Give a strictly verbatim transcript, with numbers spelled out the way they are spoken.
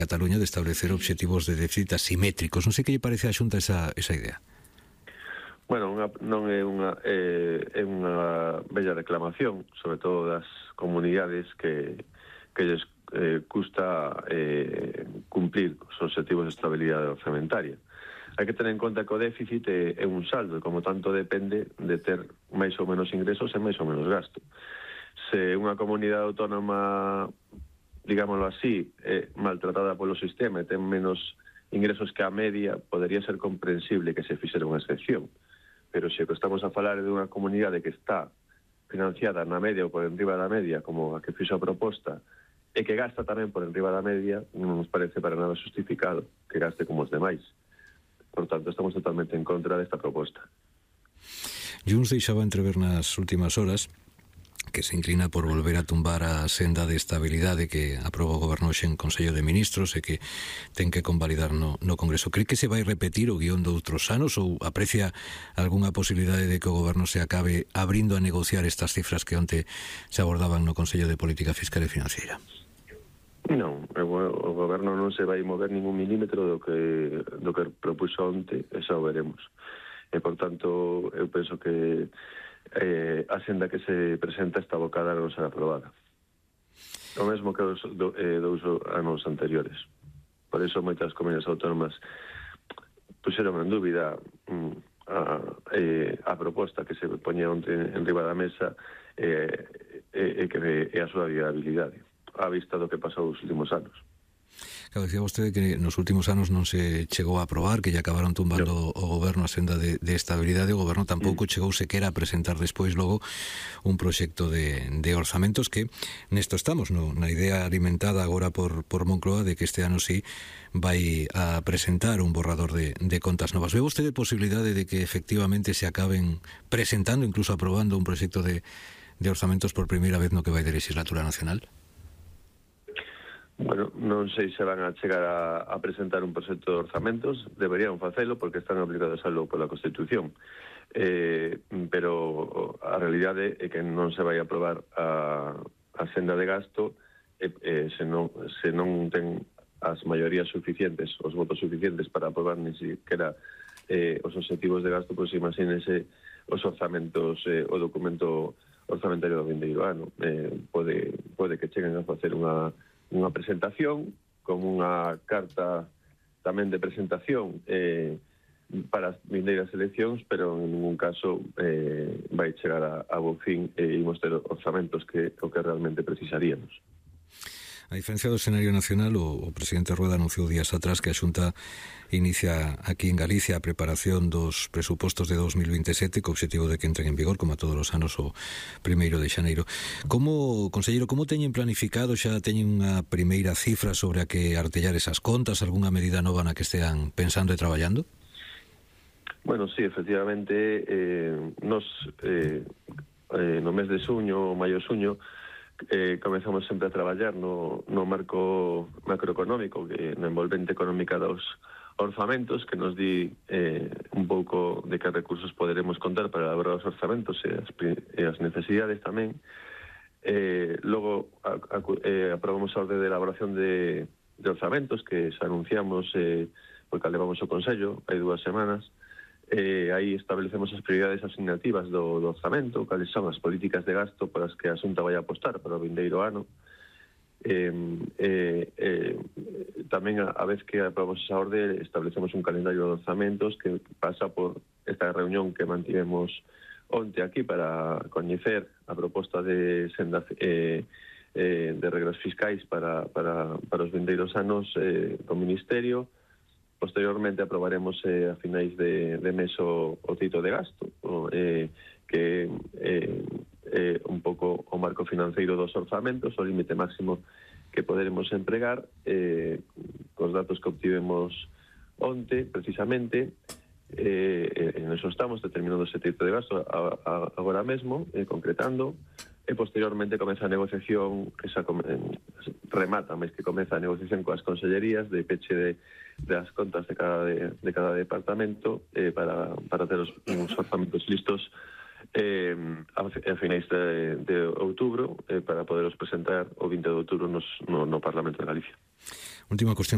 Cataluña de establecer obxectivos de déficit asimétricos. Non sei que lle parece a Xunta esa, esa idea. Bueno, unha, non é unha é, é unha bella reclamación, sobre todo das comunidades que que lles eh, custa eh, cumplir os objetivos de estabilidade orzamentaria. Hai que tener en conta que o déficit é, é un saldo e, como tanto, depende de ter máis ou menos ingresos e máis ou menos gasto. Se unha comunidade autónoma, digámoslo así, é maltratada polo sistema e ten menos ingresos que a media, podería ser comprensible que se fixera unha excepción. Pero se que estamos a falar de unha comunidade que está financiada na media ou por enriba da media, como a que fixo a proposta, e que gasta tamén por enriba da media, non nos parece para nada justificado que gaste como os demais. Por tanto, estamos totalmente en contra desta proposta. Junts deixaba entrever nas últimas horas que se inclina por volver a tumbar a senda de estabilidade que aprobou o Goberno hoxe en Consello de Ministros e que ten que convalidar no, no Congreso. Cree que se vai repetir o guión de outros anos ou aprecia algunha posibilidade de que o Goberno se acabe abrindo a negociar estas cifras que onte se abordaban no Consello de Política Fiscal e Financiera? Non, o Goberno non se vai mover ningún milímetro do que do que propuxo onte, e xa o veremos. E, por tanto, eu penso que eh, a senda que se presenta está abocada a non ser aprobada. O mesmo que os do, eh, dous anos anteriores. Por iso moitas comunidades autónomas puxeron en dúbida mm, a, eh, a proposta que se poñía onte en riba da mesa e eh, eh, que é a súa viabilidade a vista do que pasou os últimos anos. Claro, decía vostede que nos últimos anos non se chegou a aprobar, que lle acabaron tumbando no. o Goberno a senda de, de estabilidade. O Goberno tampouco mm. chegou sequera a presentar despois logo un proxecto de, de orzamentos que nesto estamos, no, na idea alimentada agora por, por Moncloa de que este ano sí vai a presentar un borrador de, de contas novas. Ve vostede posibilidade de que efectivamente se acaben presentando, incluso aprobando un proxecto de, de orzamentos por primeira vez no que vai de legislatura nacional? Bueno, non sei se van a chegar a, a presentar un proxecto de orzamentos, deberían facelo porque están obligados a lo pola Constitución, eh, pero a realidade é que non se vai a aprobar a, a senda de gasto eh, eh, se, non, se non ten as maiorías suficientes, os votos suficientes para aprobar ni siquiera eh, os objetivos de gasto, pois imagínense os orzamentos, eh, o documento orzamentario do vindeiro ano. Eh, pode, pode que cheguen a facer unha unha presentación, como unha carta tamén de presentación eh, para as vindeiras eleccións, pero en ningún caso eh, vai chegar a, a bo fin e imos ter orzamentos que o que realmente precisaríamos. A diferencia do escenario nacional, o, o presidente Rueda anunciou días atrás que a Xunta inicia aquí en Galicia a preparación dos presupostos de dos mil veintesete co obxectivo de que entren en vigor, como a todos os anos, o primeiro de xaneiro. Como, conselleiro, como teñen planificado? Xa teñen unha primeira cifra sobre a que artellar esas contas? Algunha medida nova na que estean pensando e traballando? Bueno, sí, efectivamente, eh, nos eh, eh, no mes de suño, maio-suño, Eh, comezamos sempre a traballar no, no marco macroeconómico, que na envolvente económica dos orzamentos, que nos di eh, un pouco de que recursos poderemos contar para elaborar os orzamentos e as, e as necesidades tamén. Eh, logo a, a, eh, aprobamos a orde de elaboración de, de orzamentos que se anunciamos eh, porque levamos o Consello hai dúas semanas. Eh, aí establecemos as prioridades asignativas do, do orzamento, cales son as políticas de gasto para as que a Xunta vai apostar para o vindeiro ano. Eh, eh, eh, tamén a, a vez que aprobamos esa orde establecemos un calendario de orzamentos que pasa por esta reunión que mantivemos onte aquí para coñecer a proposta de senda eh, eh, de regras fiscais para, para, para os vindeiros anos eh, do Ministerio. Posteriormente aprobaremos eh, a finais de, de mes o, o cito de gasto, o, eh, que é eh, eh, un pouco o marco financeiro dos orzamentos, o límite máximo que poderemos empregar, eh, cos datos que obtivemos onte, precisamente, eh, en eso estamos, determinando ese cito de gasto a, a, agora mesmo, eh, concretando, e posteriormente comeza a negociación, que xa come, remata, máis que comeza a negociación coas consellerías de peche de das contas de cada de, de cada departamento eh, para, para ter os, uns orzamentos listos eh, a, a finais de, de outubro eh, para poderos presentar o vinte de outubro nos, no, no Parlamento de Galicia. Última cuestión.